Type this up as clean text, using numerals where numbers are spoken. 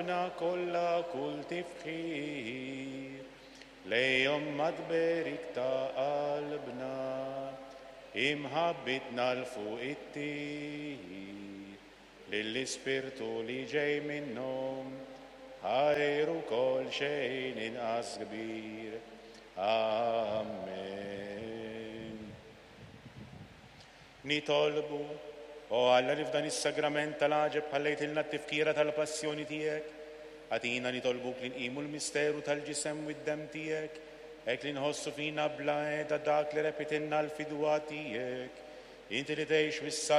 B'qalbna kollha kull tifħir lejhom mat-tberik ta' qalbna, imħabbitna 'l fuq ittir lill-Ispirtu li ġej minnhom, ħajr ukoll xejn inqas kbir. Amen. Nitolbu, O Alla li f'dan is-sagrament tal-għaġeb ħallejtilna t-tifkira tal-passjoni tiegħek, agħtina nitolbuk li nqimu l-misteru tal-ġisem u d-demm tiegħek, hekk li nħossu fina bla heda dak li repitilna l-fidwa tiegħek. Inti li tgħix u